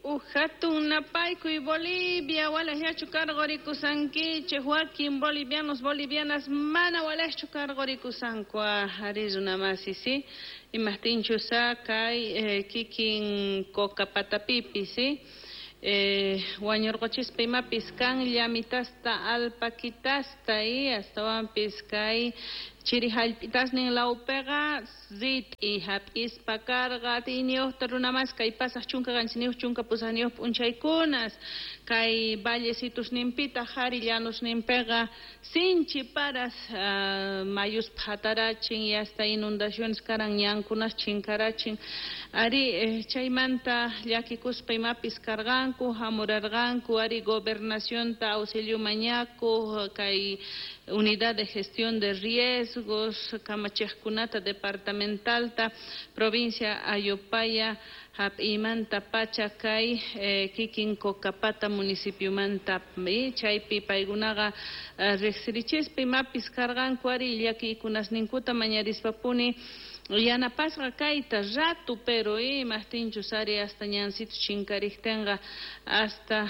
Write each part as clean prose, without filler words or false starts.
Uj hatun napaykuy Bolivia, walejllachu karqurikusankichej, wakin bolivianos, bolivianas mana walejchu karqurikusanku, ari runamasi, sí, imajtinchus kay kikin Cocapatapipis, sí, wañurqochispa imapis kan llamitasta alpaquitasta y astawanpis kay chiri hallp'itasnin lawpiqa rit'i hap'ispa karqa atiyniyuqta runamas kay pasaq 17 18 p'unchaykunas kay vallecitusninpitaq qhari llanosninpiqa sinchi paras mayus phatarachin y hasta inundaciones karan ñankunas chinkarachin ari chaymanta llakikuspa imapis karqanku hamurarqanku ari gobernacionta auxilio mañakuq kay unidad de gestión de riesgos kamachiqkunata departamentalta provincia Ayopaya hap'iymanta pacha kay kikin Cocapata municipiomanta chaypi paykunaqa riqsirichispa imapis karqanku ari llakiykunasninkuta mañarispapuni yanapasqa kayta rato pero imajtinchus ari hasta ñancitos chinkariktinqa hasta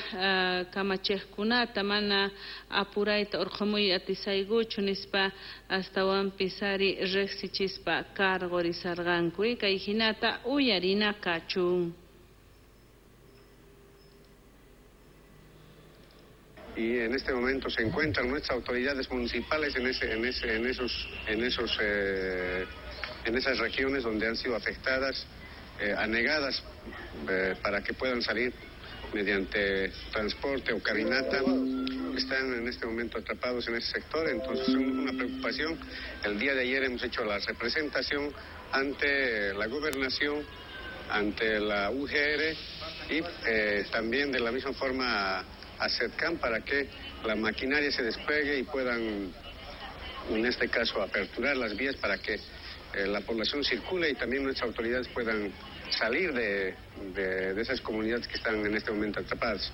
kamachiqkunata mana apurayta urqhumuy atisaykuchu nispa astawanpis ari riqsichispa karqurisarqanku kay hinata uyarina kachun. Y en este momento se encuentran nuestras autoridades municipales en esas regiones donde han sido afectadas, anegadas, para que puedan salir mediante transporte o caminata. Están en este momento atrapados en ese sector, entonces es una preocupación. El día de ayer hemos hecho la representación ante la gobernación, ante la UGR y también de la misma forma a SEDCAM para que la maquinaria se despliegue y puedan, en este caso, aperturar las vías para que la población circule y también nuestras autoridades puedan salir de esas comunidades que están en este momento atrapadas.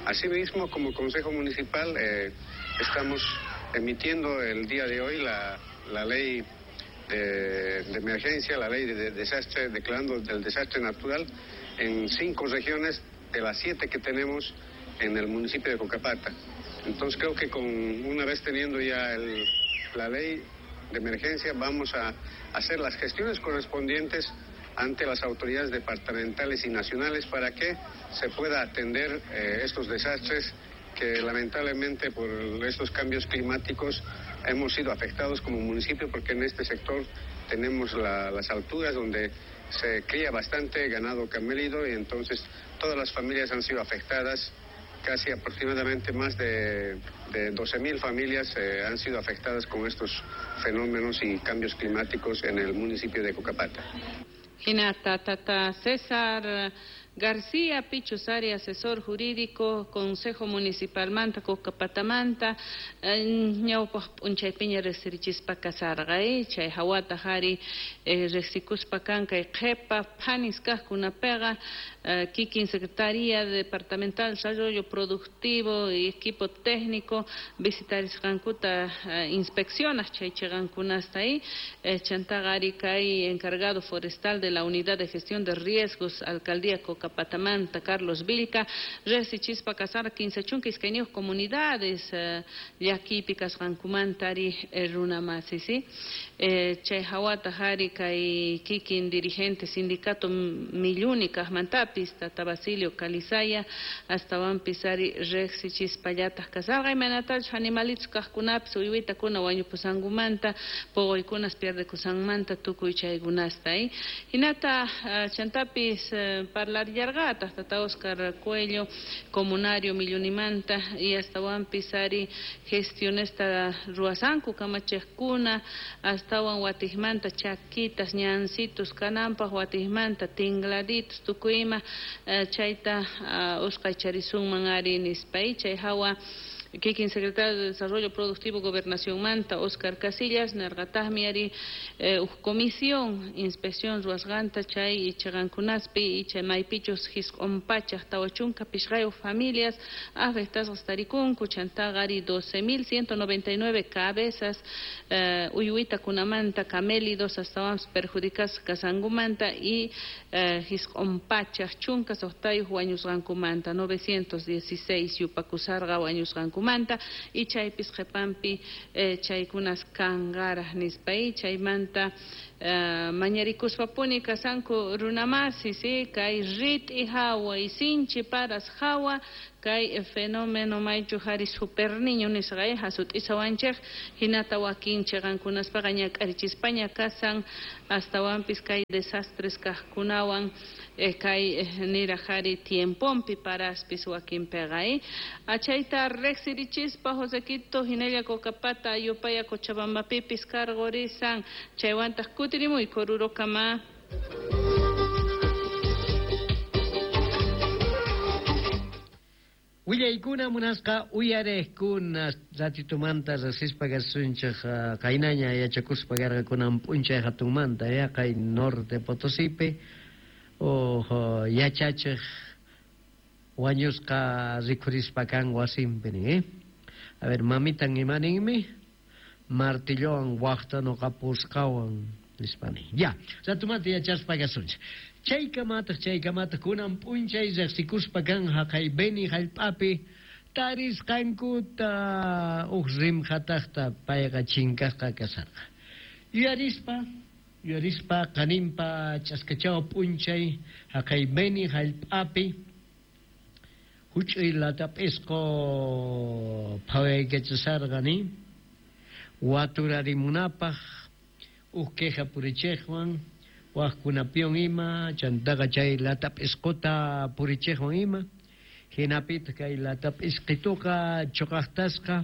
Asimismo, como Consejo Municipal, estamos emitiendo el día de hoy la ley de emergencia, la ley de desastre, declarando el desastre natural en 5 regiones de las 7 que tenemos en el municipio de Cocapata. Entonces creo que una vez teniendo ya la ley de emergencia, vamos a hacer las gestiones correspondientes ante las autoridades departamentales y nacionales para que se pueda atender estos desastres que lamentablemente por estos cambios climáticos hemos sido afectados como municipio, porque en este sector tenemos las alturas donde se cría bastante ganado camélido y entonces todas las familias han sido afectadas. Casi aproximadamente más de 12.000 familias han sido afectadas con estos fenómenos y cambios climáticos en el municipio de Cocapata. Hinata, tata César García Pichus ari, asesor jurídico, Consejo Municipal manta, Cocapatamanta, ñawpaq p'unchaypiña riqsirichispa kasarqa, chay hawata hari riqsikuspa kan kay qhipa phanis kaqkunapiqa, kikin Secretaría Departamental Desarrollo Productivo y equipo técnico visitarisqankuta inspeccionas chay chiqankunasta ahí, chantaqa ari kay encargado forestal de la Unidad de Gestión de Riesgos, Alcaldía Cocapatamanta, Carlos Vilca, riqsichispa kasarqa 32 comunidades llakipi kasqankumanta ari runamasi, sí? Chay hawata hari kay kikin dirigente sindicato Milluni kaqmantapis, tata Basilio Calizaya, astawanpis ari riqsichispallataq kasarqa, imaynatachus animalitos kaqkunapis uywitakuna wañupusankumanta, puquykunas pierdekusanmanta tukuy chaykunasta, Hinata chantapis parlarillarqataq tata Oscar Cuello, comunario Millunimanta, y astawanpis ari gestionesta ruwasanku kamachiqkuna, astawan watijmanta chakitas, ñancitos kananpaq, watijmanta tingladitos, tukuy ima, chayta usqhaycharisunman ari nispa, chay hawa Kikin secretario de Desarrollo Productivo Gobernación Manta, Oscar Casillas, nerqataqmi ari uj comisión inspección ruwasqanta chay chiqankunaspi chay maypichus jisq'un pachaj 45 familias afectasqas tarikunku, chantaqa ari 12.199 cabezas uywitakunamanta camélidos astawanpis perjudicasqa kasqankumanta y 916 wañusqankumanta, 916 yupakusarqa wañusqankumanta y chaypis qhipanpi chaykunas kanqaraq nispa y chaymanta mañarikuspapuni kasanku runamasi, sí, kay rit'i hawa y sinchi paras hawa kay fenómeno maychu hari super niño nisqa hasut'isawanchik hinata wakin chiqankunaspaqa ñak'arichispaña kasan astawanpis kay desastres kaqkunawan kay niraq hari tiempompi paraspis wakinpiqa achayta riqsirichispa Josequito hinalla Cocapata Ayopaya Cochabambapipis karqurisan chaywantaq kutirimuyku Orurokama. Willaykuna munasqa uyariqkuna ratitumanta riqsispa kasunchik qaynaña yachakuspa karqakunan p'unchay hatunmanta yaqay Norte Potosipi yachachiq wañusqa rikhurispa kan wasinpi nin. A ver, mamitan imaninmi martillowan waqta nuqapusqawan nispa nin. Ya, ratumanta yachaspa kasunchik. Chaykamataq kunan p'unchay riqsikuspa kan haqay Beni hallp'api tarisqankuta uj rimqataqta payqa chinkasqa kasarqa. Yuyarispa qaninpa ch'askachawa p'unchay haqay Beni hallp'api huch'uy latap'isqu phawaykachasarqa nin waturarimunapaq uj queja purichiqwan waqkunapiwan ima chantaqa chay latap'isquta purichiqwan ima hinapitaq kay latap'isqituqa chuqaqtasqa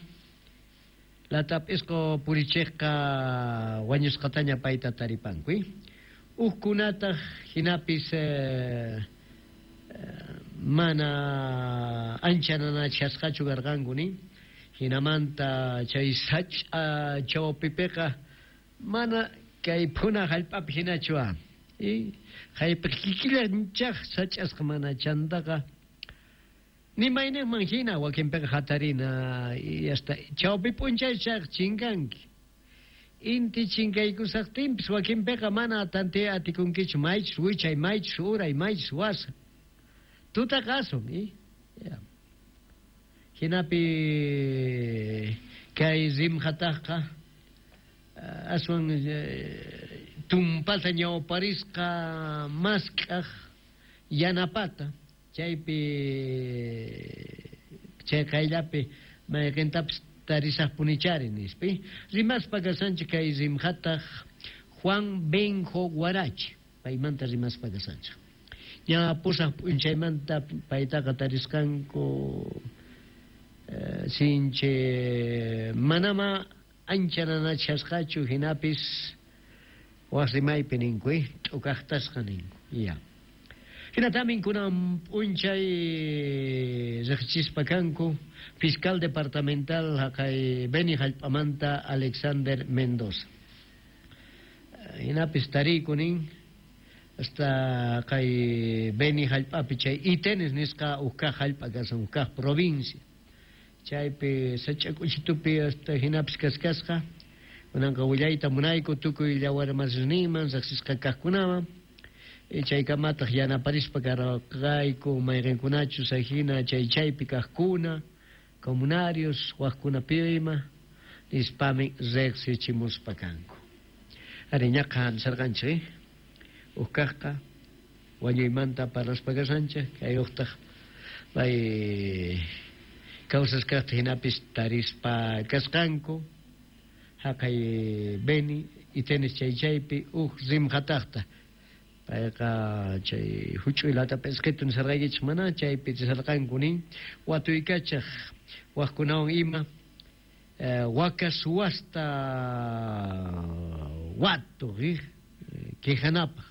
latap'isqu purichiqqa wañusqataña payta taripanku. Ujkunataq hinapis mana ancha nanachasqachu karqanku nin hinamanta chay sach'a chawpipiqa mana kay phuna hallp'api hinachu haypi kikillanchaq sach'asqa mana chantaqa ni mayninman hina wakinpiqa hatarina y hasta chawpi p'unchaychaq chinkanki inti chinkaykusaqtinpis wakinpiqa mana tantiya atikunkichu maychus wichay maychus uray maychus wasa tutaqa asun hinapi kay rimqataqqa aswan tumpata ñawparisqa mask'aq yanapata chaypi chay qayllapi mayqintapis tarisaqpunichari nispi rimaspa kasanchik kay rimqataq Juan Benjo Guarachi paymanta rimaspa kasanchik ña pusaq p'unchaymanta paytaqa tarisqanku sinchi manama ancha nanachasqachu hinapis waq rimaypi ninku t'ukaqtasqa ninku ya. Hinatamin kunan p'unchay riqsichispa kanku fiscal departamental haqay Beni hallp'amanta Alexander Mendoza. Hinapis tariyku nin hasta kay Beni hallp'api chay Itenes nisqa uj kaq hallp'a kasan uj kaq provincia. Chaypi sach'ak'uchitupi hasta hinapis kaskasqa kunanqa willayta munayku tukuy llawarmasninman riqsisqa kaqkunaman chaykamataq yanaparispa karqayku mayqinkunachus hina chay chaypi kaqkuna comunarios waqkunapi ima nispami riqsichimuspa kanku. Ari ñaqa nisarqanchik uj kaqqa wañuymanta parlaspa kasanchik kay uqtaq pay kawsasqaqta hinapis tarispa kasqanku haqay Beni Itenes chay chaypi uj rimqataqta payqa chay huch'uy latap'isqitu nisarqaykichik mana chaypi risarqanku nin watuykachaq waqkunawan ima waka suwasta watuq quejanapaq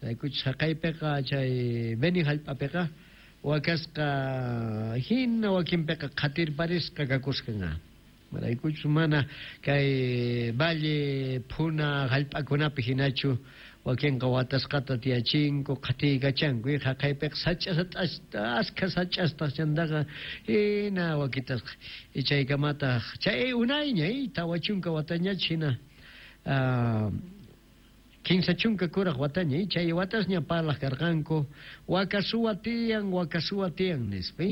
raykuchus haqaypiqa chay Beni hallp'apiqa Wakasqa hina wakinpiqa qhatirparisqa kakusqan. Maraykuchus mana kay valle phuna hallp'akunapi hinachu wakinqa watasqata tiyachinku qhatiykachanku haqaypiqa sach'a askha sach'astaq chantaqa hina wakitasqa chaykamataq chay unayña 40 watañach hina 30 kuraq wataña chay watasña parlaq karqanku waka suwa tiyan nispa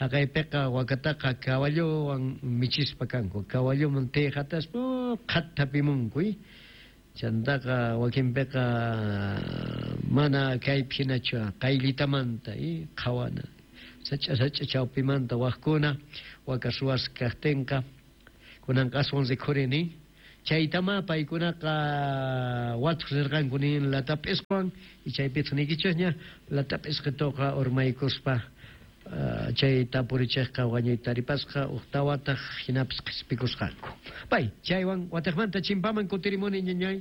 haqaypiqa wakataqa caballowan michispa kanku caballoman tiyqataspa qhattapimunku chantaqa wakinpiqa mana kaypi hinachu qayllitamanta qhawana sach'a sach'a chawpimanta waqkuna waka suwas kaqtinqa kunanqa aswan rikhurini chaytama paykunaqa watuq rirqanku nin latap'isqwan chaypitaq niykichikña latap'isqituqa urmaykuspa chay tapurichikqa wañuyta taripasqa uqtawataq hinapis qhispikusqanku. Pay chaywan watiqmanta chimpaman kutirimuni ñañay.